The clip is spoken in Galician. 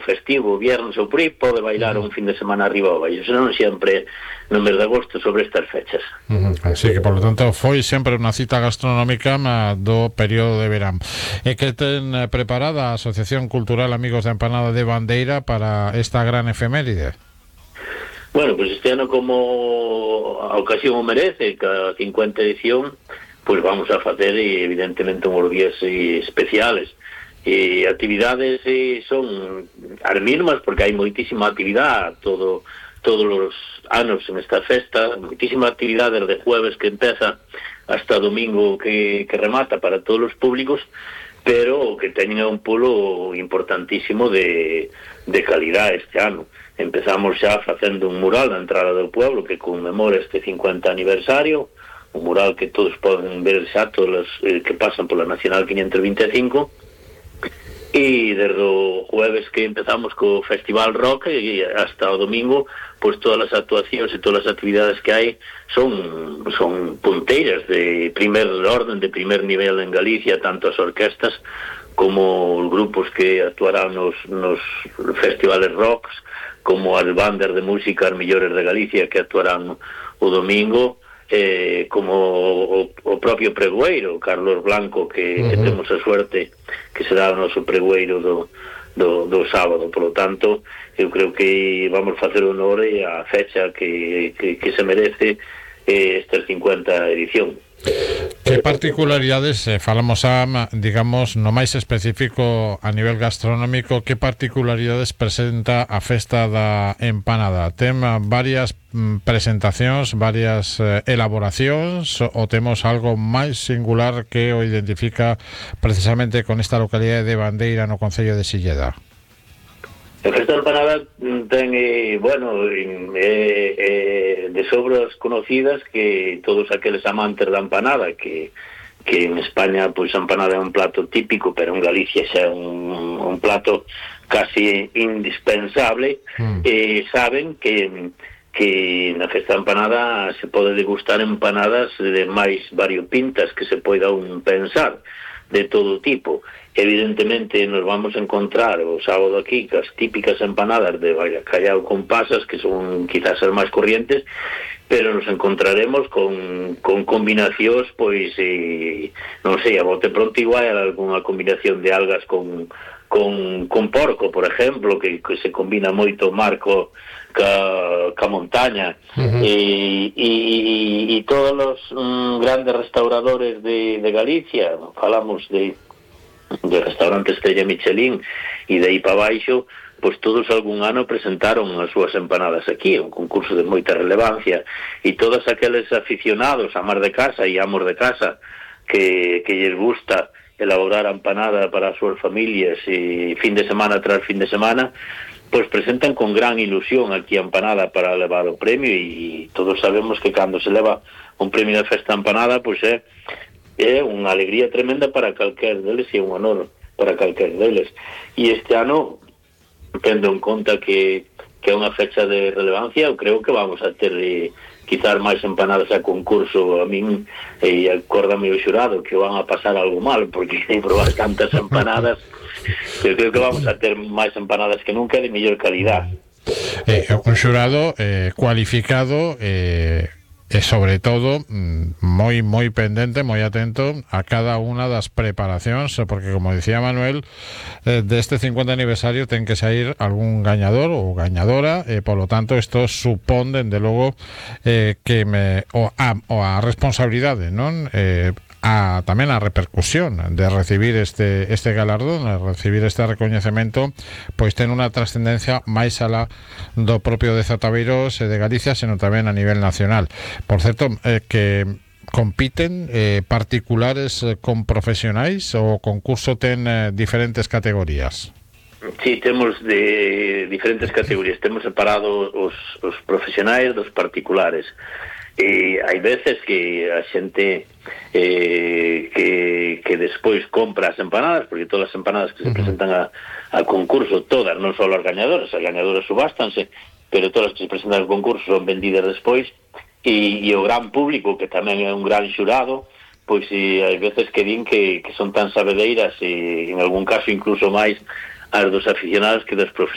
festivo, viernes ou por aí, pode bailar un fin de semana arriba ou baixo, senón sempre no mes de agosto sobre estas fechas. Así que, por lo tanto, foi sempre unha cita gastronómica do período de verán. E que ten preparada a Asociación Cultural Amigos da Empanada de Bandeira para esta gran efeméride? Bueno, pues este ano, como a ocasión o merece, cada 50 edición, pues vamos a facer evidentemente uns días especiales. Actividades son as mismas, porque hai moitísima actividade todos os anos en esta festa, moitísima actividade desde jueves que empeza hasta domingo que remata para todos os públicos, pero que teñen un polo importantísimo de calidade este ano. Empezamos xa facendo un mural na entrada do pueblo que conmemora este 50 aniversario, un mural que todos poden ver xa, todos os que pasan pola Nacional 525, e desde o jueves que empezamos co Festival Rock e hasta o domingo, pois todas as actuacións e todas as actividades que hai son punteiras de primer orden, de primer nivel en Galicia, tanto as orquestas como os grupos que actuarán nos festivales rocks, como as bandas de música as mellores de Galicia que actuarán o domingo, como o propio pregoeiro Carlos Blanco que temos a suerte que será o noso pregoeiro do sábado. Por lo tanto, eu creo que vamos facer honor a fecha que se merece esta 50 edición. Que particularidades, falamos digamos, no máis específico a nivel gastronómico, que particularidades presenta a festa da empanada? Ten varias presentacións, varias elaboracións, ou temos algo máis singular que o identifica precisamente con esta localidade de Bandeira no concello de Silleda? A festa da empanada ten, de sobras conocidas que todos aqueles amantes da empanada que en España, pois a empanada é un plato típico, pero en Galicia xa é un plato casi indispensable, saben que na festa da empanada se pode degustar empanadas de máis variopintas que se poida un pensar, de todo tipo. Evidentemente nos vamos a encontrar o sábado aquí as típicas empanadas de bacallau con pasas, que son quizás as máis corrientes, pero nos encontraremos con combinacións, pois non sei, a bote pronto igual algunha combinación de algas con porco, por exemplo, que se combina moito marco ca montaña, e todos os grandes restauradores de Galicia, falamos de restaurantes Estrella Michelin e de aí para baixo, pois todos algún ano presentaron as súas empanadas aquí, un concurso de moita relevancia, e todos aqueles aficionados, amar de casa e amos de casa, que lles gusta elaborar a empanada para as súas familias e fin de semana tras fin de semana, pois presentan con gran ilusión aquí a empanada para levar o premio, e todos sabemos que cando se leva un premio de festa empanada, pois é unha alegría tremenda para calquer deles e un honor para calquer deles. E este ano, tendo en conta que é unha fecha de relevancia, eu creo que vamos a ter quizás máis empanadas a concurso. A min, e acórdame o xurado que van a pasar algo mal, porque hai probar tantas empanadas, eu creo que vamos a ter máis empanadas que nunca de mellor calidad. Un xurado cualificado e sobre todo moi pendente, moi atento a cada unha das preparacións, porque como dicía Manuel, deste 50 aniversario ten que sair algún gañador ou gañadora, e polo tanto isto supón dende logo que a responsabilidade, non? Tamén a repercusión de recibir este galardón, de recibir este recoñecemento, pois ten unha trascendencia máis alá do propio de Zataveiros e de Galicia, senón tamén a nivel nacional. Por certo, que compiten particulares con profesionais, ou o concurso ten diferentes categorías? Sí, temos de diferentes categorías, temos separado os profesionais dos particulares. Hai veces que a xente que despois compra as empanadas, porque todas as empanadas que se presentan a concurso, todas, non só as gañadoras subástanse, pero todas as que se presentan ao concurso son vendidas despois, e o gran público, que tamén é un gran xurado, pois hai veces que din que son tan sabedeiras, e en algún caso incluso máis as dos aficionados que dos profesionales.